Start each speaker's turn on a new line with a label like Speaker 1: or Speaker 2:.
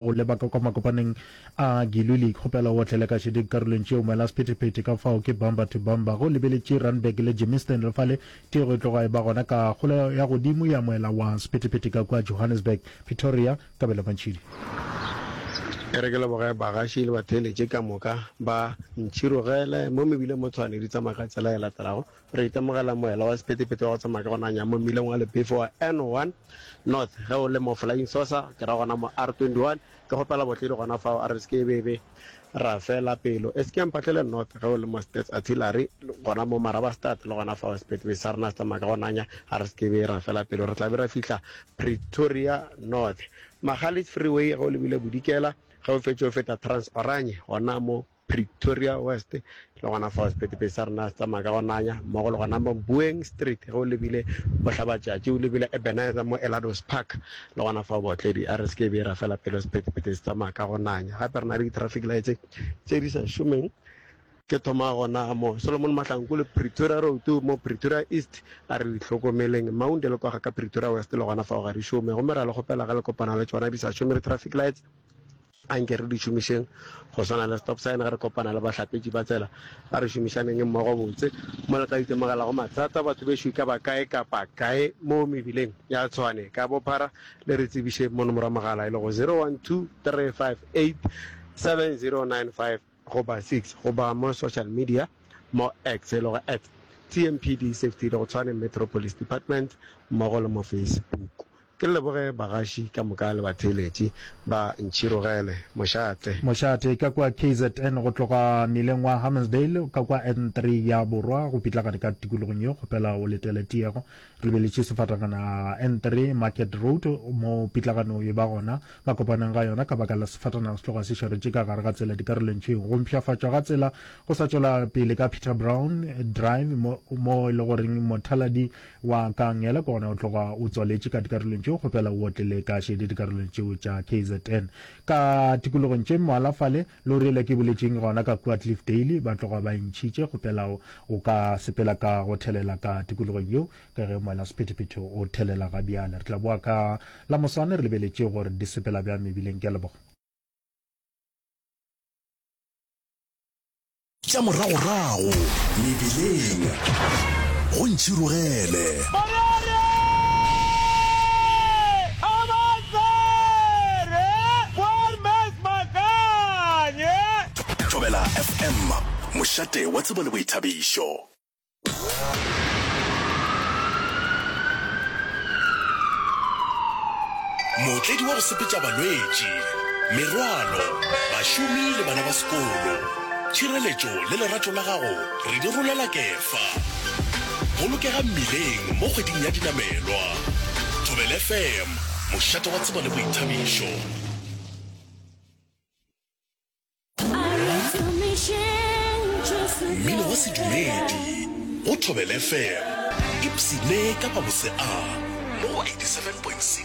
Speaker 1: Go leba ka kwa makopaneng a Giluli, kgopela o otlele ka šedi dikarolong tšeo moela sephethephethe ka fao ke bumper to bumper. Ge o lebeletše Randburg le Germiston le fale, tiego e tloga e ba gona ka kgolo ya godimo ya moela wa sephethephethe ka kua Johannesburg, Pretoria, Kabelo Mantšhidi.
Speaker 2: E re ke leboge bagaši le batheeletši ka moka ba Ntšhirogele mo mebileng mo Tshwane di tsamaya ka tsela e latelago. Re itemogela moela wa sephethephethe wa go tsamaya ka go nanya mo mmileng wa lebefo wa N1 North ge o le mo Flying Saucer, ke ra gona mo R21. Ke kgopela botledi gona fao, a re se ke be be ra fela pelo. E se ke ya Mphahlele North ge o le mo Stats Artillery, gona mo Marabastad le gona fao sephethephethe sa rena se tsamaya ka go nanya, a re se ke be ra fela pelo. Re tla be ra fihla Pretoria North. Magalies Freeway ge o lebile bodikela, ge o fetše o feta Transoranye gona mo Pretoria West, le gona fao sephethephethe sa rena se tsamaya ka go nanya, mmogo le gona mo Boeng Street ge o lebile bohlabatšatši, o lebile Ebenezer mo Elados Park, le gona fao baotledi a re se ke be ra fela pelo sephethephethe se tsamaya ka go nanya. Gape re na le di-traffic lights tše di sa šomeng, ke thoma gona mo Solomon Mahlangu le Pretoria Road mo Pretoria East, a re di hlokomeleng. Maunde le kwa ga ka Pretoria West le gona fao ga di šome, gomme ra le kgopela ge le kopana le tšona di sa šome di-traffic lights, Anke re di šomišeng go swana le stop sign ge re kopana le bahlapetši ba tsela. A re šomišaneng mmogo botse mo le tla itemogelago mathata. Batho bešo e ka ba kae kapa kae mo mebileng ya Tshwane ka bophara, le re tsebiše mo nomoro ya mogala e lego 0123587095 goba 6 goba mo social media mo X e lego at TMPD Safety le go Tshwane Metro Police Department mmogo le mo Facebook. Ke leboge bagaši ka moka le batheeletši ba Ntšhirogele. Mošate.
Speaker 1: Mošate, ka kua KZN go tloga mmileng wa Hammansdale ka kua N3 ya Borwa go pitlagane ka tikologong yeo, kgopela o letele tiego. Re lebeletše sefatangana N3 Market Road mo pitlagano e ba gona makopanong ga yona ka baka la sefatanaga se tloga se šaretše ka gare ga tsela dikarolong tšeo. Go mpshafatšwa ga tsela go sa tšwela pele ka Peter Brown Drive mo mo e le goreng mothaladi Wa ka ngela ke gona o tloga o tswaletše ka dikarolong tšeo, kgopela o otlele ka šedi dikarolong tšeo tša KZN. Ka tikologong tše mmalwa fale, lori yela ke boletšeng gona ka kua Cliffdale ba tloga ba e ntšhitše, kgopela o ka sepela ka go thelela ka tikologong yeo ka ge moela sephethephethe o thelela ga bjale. Re tla boa ka la moswane re lebeletše gore di sepela bjang mebileng. Ke a leboga.
Speaker 3: Tša moragorago mebileng go ntšhirogele. Thobela FM, mošate wa tsebo le boithabišo. Mootledi wa go sepetša balwetši, merwalo, bašomi le bana ba sekolo. Tšhireletšo le lerato la gago re di rolela kefa. Bolokega mmileng mo kgweding ya dinamelwa. Thobela FM, mošate wa tsebo le boithabišo. Mmino wa sedumedi go Thobela FM. Ipshine ka mabose a mo go 87.6.